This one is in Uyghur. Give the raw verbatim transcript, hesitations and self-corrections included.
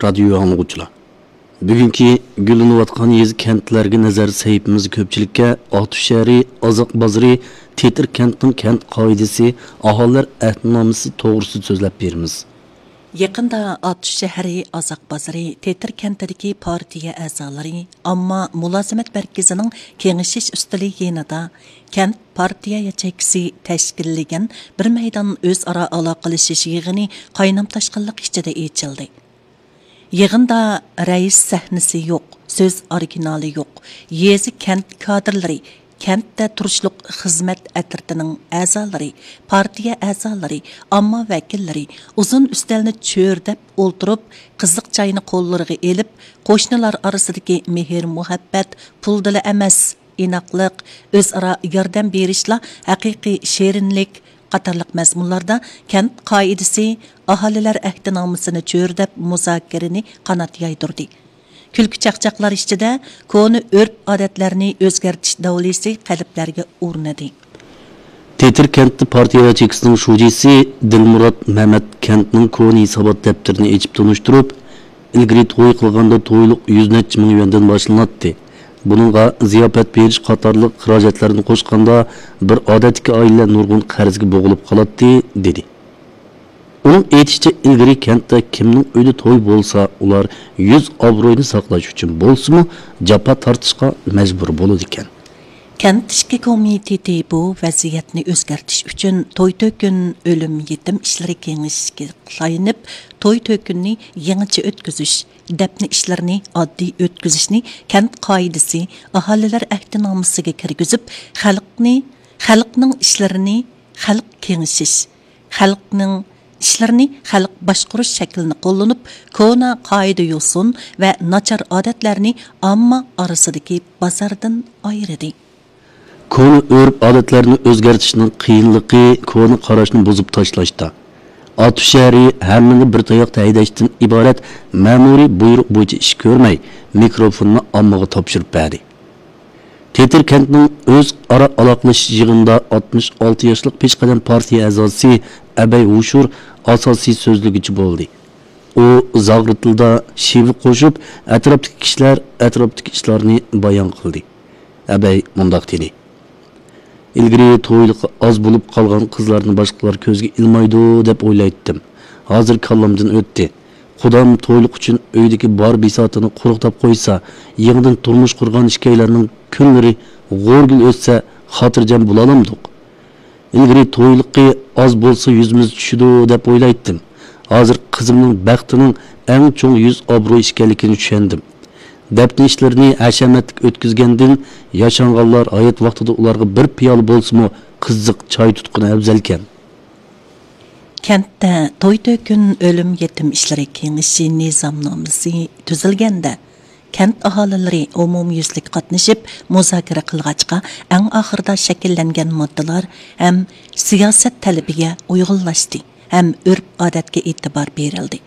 رادىيو ئاڭلىغۇچىلار، بۈگۈنكى گۈللىنىۋاتقان يېزا، كەنتلەرگە نەزەر سەھىپىمىزدە كۆپچىلىككە ئاتۇش شەھىرى، ئازاق بازىرى، تېتىر كەنتنىڭ كەنت قائىدىسى، ئاھالىلەر ئەھدىنامىسى توغرىسىدا سۆزلەپ بېرىمىز. يېقىندا ئاتۇش شەھىرى، ئازاق بازىرى، تېتىر كەنتىدىكى پارتىيە ئەزالىرى، ئامما مۇلازىمەت مەركىزىنىڭ كېڭىشىش ئۈستىلى يېنىدا كەنت پارتىيە ياچېيكىسى تەشكىللىگەن بىر مەيدان ئۆزئارا ئالاقىلىشىش يىغىنى قاينام-تاشقىنلىق ئىچىدە ئېچىلدى. يىغىندا رەئىس سەھنىسى يوق، سۆز ئورىگىنالى يوق، يېزا، كەنت كادىرلىرى، كەنتتە تۇرۇشلۇق خىزمەت ئەترىتىنىڭ ئەزالىرى، پارتىيە ئەزالىرى، ئامما ۋەكىللىرى ئۇزۇن ئۈستەلنى چۆرىدەپ ئولتۇرۇپ، قىزىق چاينى قوللىرىغا ئېلىپ، قوشنىلار ئارىسىدىكى مېھىر-مۇھەببەت پۇلدىلا ئەمەس، ئىناقلىق، ئۆزئارا ياردەم بېرىشلا ھەقىقىي شېرىنلىك قاتارلىق مەزمۇنلاردا كەنت قائىدىسى، ئاھالىلەر ئەھدىنامىسىنى چۆرىدەپ مۇزاكىرىنى قانات يايدۇردى. كۈلكە-چاقچاقلار ئىچىدە كونا ئۆرپ-ئادەتلەرنى ئۆزگەرتىش داۋلىسى قەلبلەرگە ئورنىدى. تېتىر كەنتتە پارتىيە ياچېيكىسىنىڭ شۇجىسى دىلمۇرات مەمەت كەنتنىڭ كونا ھېسابات دەپتىرىنى ئېچىپ تونۇشتۇرۇپ، ئىلگىرى توي قىلغاندا تويلۇق يۈز نەچچە مىڭ يۈەندىن باشلىناتتى. بۇنىڭغا زىياپەت بېرىش قاتارلىق خىراجەتلەرنى قوشقاندا، بىر ئادەتتىكى ئائىلە نۇرغۇن قەرزگە بوغۇلۇپ قالاتتى، دېدى. ئۇنىڭ ئېيتىشىچە، ئىلگىرى كەنتتە كىمنىڭ ئۆيىدە توي بولسا، ئۇلار يۈز ئابرۇينى ساقلاش ئۈچۈن بولسىمۇ، جاپا تارتىشقا مەجبۇر بولىدىكەن. كەنت ئىچكى كومىتېتى بۇ ۋەزىيەتنى ئۆزگەرتىش ئۈچۈن توي-تۆكۈن، ئۆلۈم-يېتىم ئىشلىرى كېڭىشىشكە تايىنىپ، توي-تۆكۈننى يېڭىچە ئۆتكۈزۈش، دەپنە ئىشلىرىنى ئاددىي ئۆتكۈزۈشنى كەنت قائىدىسى، ئاھالىلەر ئەھدىنامىسىگە كىرگۈزۈپ، خەلقنى، خەلقنىڭ ئىشلىرىنى خەلق كېڭىشىش، خەلقنىڭ ئىشلىرىنى خەلق باشقۇرۇش شەكلىنى قوللىنىپ، كونا قائىدە-يوسۇن ۋە ناچار ئادەتلەرنى ئامما ئارىسىدىكى بازاردىن ئايرىدى. كونا ئۆرپ-ئادەتلەرنى ئۆزگەرتىشنىڭ قىيىنلىقى كونا قاراشنى بۇزۇپ تاشلاشتا. ئاتۇش شەھىرى ھەممىنى بىر تاياقتا ھەيدەشتىن ئىبارەت مەمۇرىي بۇيرۇق بويىچە ئىش كۆرمەي، مىكروفوننى ئاممىغا تاپشۇرۇپ بەردى. تېتىر كەنتنىڭ ئۆزئارا ئالاقىلىشىش يىغىنىدا ئاتمىش ئالتە ياشلىق پېشقەدەم پارتىيە ئەزاسى ئەبەي ھوشۇر ئاساسىي سۆزلىگۈچى بولدى. ئۇ زاغرا تىلدا شېۋە قوشۇپ، ئەتراپتىكى كىشىلەر ئەتراپتىكى ئىشلارنى بايان قىلدى. ئەبەي مۇنداق دېدى: «ئىلگىرى تويلۇقى ئاز بولۇپ قالغان قىزلارنى باشقىلار كۆزگە ئىلمايدۇ دەپ ئويلايتتىم. ھازىر كاللامدىن ئۆتتى. قۇدام تويلۇق ئۈچۈن ئۆيدىكى بار بىساتىنى قۇرۇقداپ قويسا، يېڭىدىن تۇرمۇش قۇرغان ئىككىيلەننىڭ كۈنلىرى غورىگىل ئۆتسە، خاتىرجەم بولالامدۇق؟ ئىلگىرى تويلۇقى ئاز بولسا يۈزىمىز چۈشىدۇ دەپ ئويلايتتىم. ھازىر قىزىمنىڭ بەختىنىڭ ئەڭ چوڭ يۈز ئابرۇي ئىكەنلىكىنى چۈشەندىم. دەپنە ئىشلىرىنى ھەشەمەتلىك ئۆتكۈزگەندىن، ياشانغانلار ھايات ۋاقتىدا ئۇلارغا بىر پىيالە بولسىمۇ قىزىق چاي تۇتقىنى ئەۋزەلكەن.» كەنتتە توي-تۆكۈن، ئۆلۈم-يېتىم ئىشلىرى كېڭىشى نىزامنامىسى تۈزۈلگەندە، كەنت ئاھالىلىرى ئومۇميۈزلۈك قاتنىشىپ، مۇزاكىرە قىلغاچقا، ئەڭ ئاخىرىدا شەكىللەنگەن ماددىلار ھەم سىياسەت تەلىپىگە ئۇيغۇنلاشتى ھەم ئۆرپ-ئادەتكە ئېتىبار بېرىلدى.